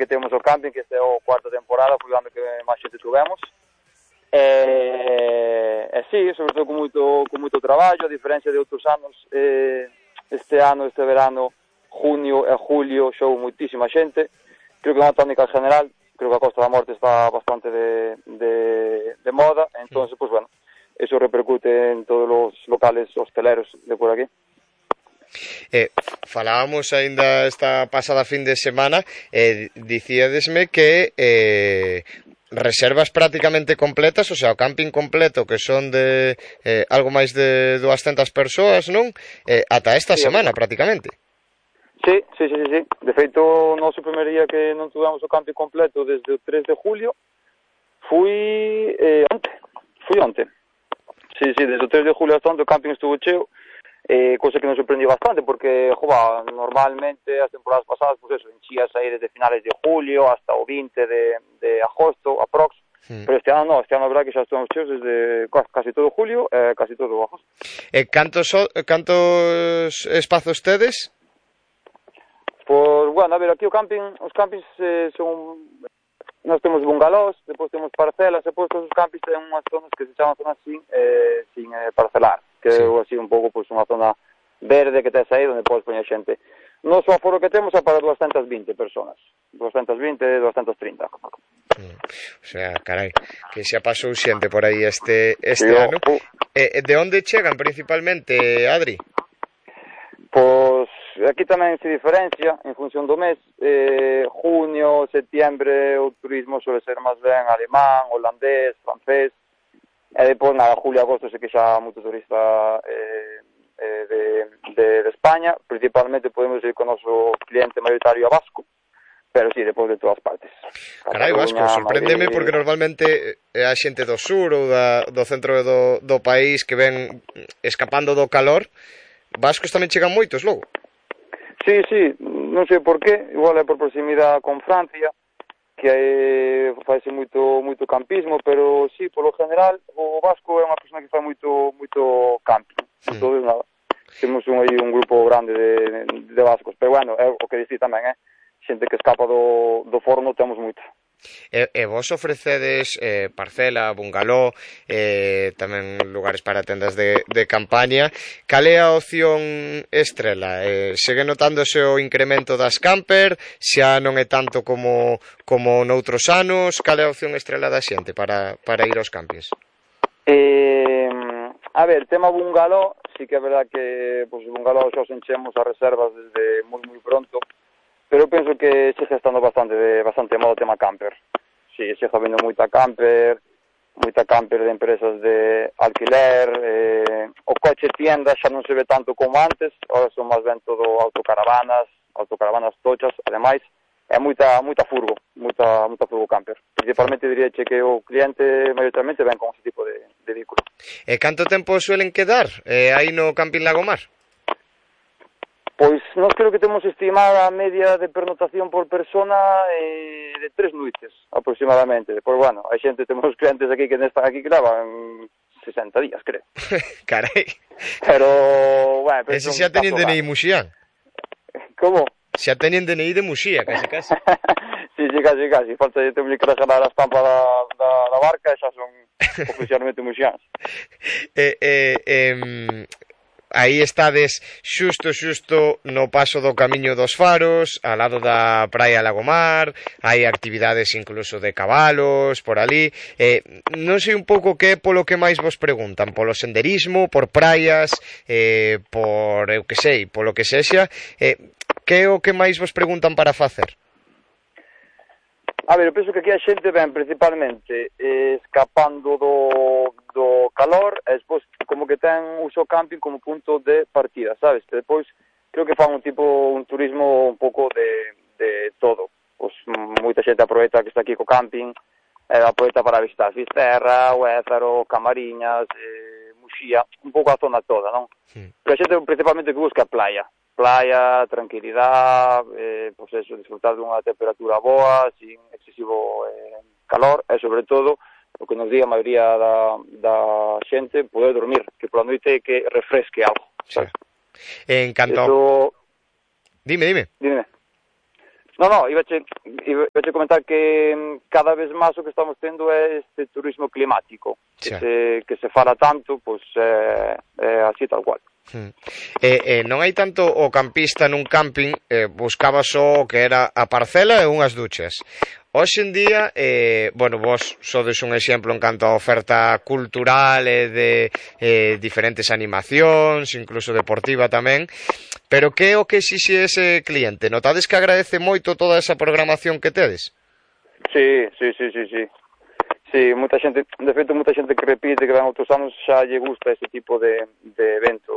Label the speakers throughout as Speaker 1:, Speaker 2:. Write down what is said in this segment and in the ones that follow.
Speaker 1: que temos o camping, que este é a cuarta temporada, foi o ano que máis xente tuvemos. Sí, sobre todo con moito traballo, a diferencia de outros anos, este verano, junio e julio, xou moitísima xente. Creo que é unha tónica general, creo que a Costa da Morte está bastante de moda, entonces, pues bueno, eso repercute en todos os locales hosteleros de por aquí.
Speaker 2: Falábamos aínda esta pasada fin de semana, dicíadesme que reservas prácticamente completas, o sea, o camping completo, que son de algo máis de 200 persoas, non? Ata esta semana, prácticamente.
Speaker 1: Sí. De feito, o noso primer día que non tuvemos o camping completo desde o 3 de julio, fui onte. Sí, desde o 3 de julio hasta onte o camping estuvo cheo, cosa que nos sorprendió bastante, porque, normalmente as temporadas pasadas, pues eso, enchías aí desde finales de julio hasta o 20 de agosto, aprox, pero este ano non, a verdad que xa estuvemos cheos desde casi todo julio, casi todo agosto.
Speaker 2: Cantos espazos tedes?
Speaker 1: Pois, bueno, a ver, aquí os campings son... Nós temos bungalós, depois temos parcelas, depois todos os campings ten unhas zonas que se chaman zonas sin parcelar, que é así un pouco unha zona verde que tes aí onde podes poñer xente. Noso aforo que temos é para 220 personas, 220, 230.
Speaker 2: O sea, carai, que xa pasou xente por aí este ano. De onde chegan principalmente, Adri?
Speaker 1: Pois aquí tamén se diferencia en función do mes. Junio, septiembre o turismo suele ser máis ben alemán, holandés, francés, e depois julio, agosto se que xa moito turista de España. Principalmente podemos ir con o noso cliente mayoritario a vasco, pero sí, depois de todas partes.
Speaker 2: Carai, vasco, sorpréndeme porque normalmente é a xente do sur ou do centro do país que ven escapando do calor. Vascos tamén chegan moitos logo?
Speaker 1: Sí, non sei por qué, igual é por proximidade con Francia, que faise moito campismo, pero sí, polo general, o vasco é unha persona que fai moito camping, entonces nada, temos aí un grupo grande de vascos, pero bueno, é o que dicir tamén, xente que escapa do forno temos moita.
Speaker 2: E vos ofrecedes parcela, bungaló, tamén lugares para tendas de campaña. Cal é a opción estrela? Segue notándose o incremento das camper? Xa non é tanto como noutros anos? Cal é a opción estrela da xente para ir aos campings?
Speaker 1: A ver, tema bungaló, sí que é verdad que os bungalós xa os enchemos as reservas desde moi pronto, pero penso que sigue estando bastante modo tema camper. Sí, sigue habendo moita camper de empresas de alquiler, o coche tienda xa non se ve tanto como antes, ahora son máis ben todo autocaravanas tochas, ademais, é moita furgo camper. Principalmente diríache que o cliente maioritariamente ven con ese tipo de vehículo.
Speaker 2: E canto tempo suelen quedar aí no Camping Lagomar?
Speaker 1: Pois nós creo que temos estimada a media de pernotación por persona de 3 noites aproximadamente. Pois bueno, hai xente, temos clientes aquí que están aquí que levan 60 días, creo.
Speaker 2: Carai.
Speaker 1: Pero, bueno...
Speaker 2: Ese xa teñen DNI Muxián.
Speaker 1: Como?
Speaker 2: Xa teñen DNI de Muxía, casi.
Speaker 1: Sí, casi. Falta de ter que regalar a estampa da barca e xa son oficialmente muxiáns.
Speaker 2: Aí estades xusto no paso do Camiño dos Faros, ao lado da Praia Lagomar, hai actividades incluso de cabalos por ali. Non sei un pouco que é polo que máis vos preguntan, polo senderismo, por praias, por eu que sei, polo que sexa, que é o que máis vos preguntan para facer?
Speaker 1: A ver, eu penso que aquí a xente ven principalmente escapando do calor e despois como que ten uso camping como punto de partida, sabes? Que depois creo que fan un turismo un pouco de todo. Pois moita xente aproveita que está aquí co camping, aproveita para visitar Fisterra, Huézaro, Camariñas, Muxía, un pouco a zona toda, non? Pero a xente principalmente que busca playa, tranquilidade, pois eso, disfrutar dunha temperatura boa, sin excesivo calor, e sobre todo, o que nos di a maioría da xente, poder dormir, que pola noite que refresque algo, sabes?
Speaker 2: En canto...
Speaker 1: Eso...
Speaker 2: Dime.
Speaker 1: iba a comentar que cada vez máis o que estamos tendo é este turismo climático, que se fala tanto, pois así tal cual.
Speaker 2: Non hai tanto o campista nun camping, buscaba só o que era a parcela e unhas duchas. Hoxe en día, vos sodes un exemplo en canto a oferta cultural e de diferentes animacións, incluso deportiva tamén, pero que é o que exixe ese cliente? Notades que agradece moito toda esa programación que tedes?
Speaker 1: Sí. Sí, moita xente, de feito, moita xente que repite que ven outros anos xa lle gusta ese tipo de evento,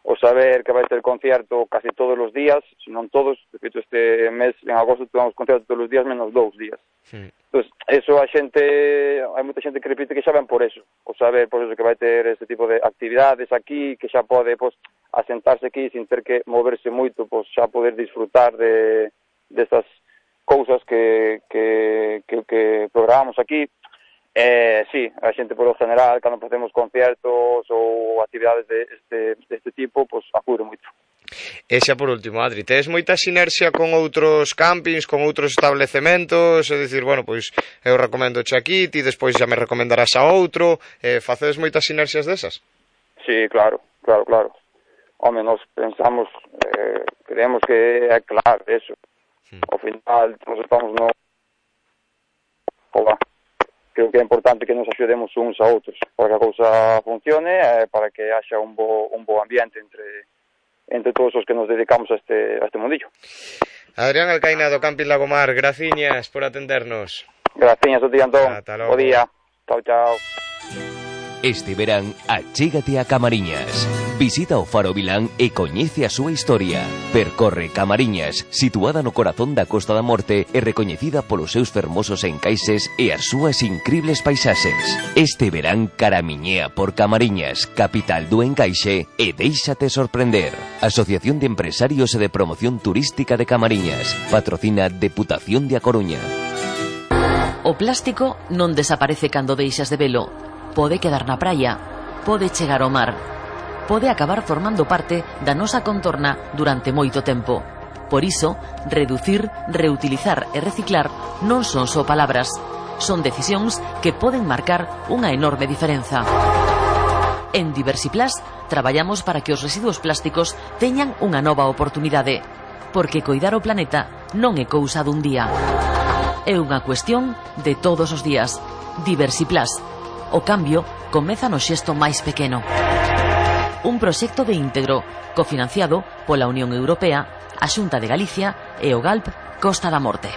Speaker 1: o saber que vai ter concierto casi todos os días, se non todos, de feito este mes, en agosto, tuvemos concierto todos os días, menos 2 días. Entón, eso a xente, hai moita xente que repite que xa ven por eso, o saber por eso que vai ter ese tipo de actividades aquí, que xa pode, asentarse aquí sin ter que moverse moito, xa poder disfrutar destas cousas que programamos aquí. Sí, a xente por lo general, cando facemos conciertos ou actividades deste tipo, acude moito.
Speaker 2: E xa por último, Adri, tedes moita sinerxia con outros campings, con outros establecementos? É dicir, eu recomendo che aquí, ti despois xa me recomendarás a outro, facedes moitas sinerxias desas?
Speaker 1: Sí, claro. Home, nos pensamos, creemos que é claro eso. Ao final, nos estamos creo que é importante que nos axudemos uns a outros para que a cousa funcione e para que haxa un bo ambiente entre todos os que nos dedicamos a este mundillo.
Speaker 2: Adrián Alcaina do Camping Lagomar, graciñas por atendernos.
Speaker 1: Graciñas a ti, Antón. Bo día. Chao.
Speaker 3: Este verán, achégate a Camariñas. Visita o Faro Vilán e coñece a súa historia. Percorre Camariñas, situada no corazón da Costa da Morte e recoñecida polos seus fermosos encaixes e as súas incribles paisaxes. Este verán caramiñea por Camariñas, capital do encaixe, e déixate sorprender. Asociación de Empresarios e de Promoción Turística de Camariñas. Patrocina Deputación de A Coruña.
Speaker 4: O plástico non desaparece cando deixas de velo. Pode quedar na praia, pode chegar ao mar, pode acabar formando parte da nosa contorna durante moito tempo. Por iso, reducir, reutilizar e reciclar non son só palabras, son decisións que poden marcar unha enorme diferenza. En Diversiplast traballamos para que os residuos plásticos teñan unha nova oportunidade, porque coidar o planeta non é cousa dun día. É unha cuestión de todos os días. Diversiplast. O cambio comeza no xesto máis pequeno. Un proxecto de íntegro, cofinanciado pola Unión Europea, a Xunta de Galicia e o GALP Costa da Morte.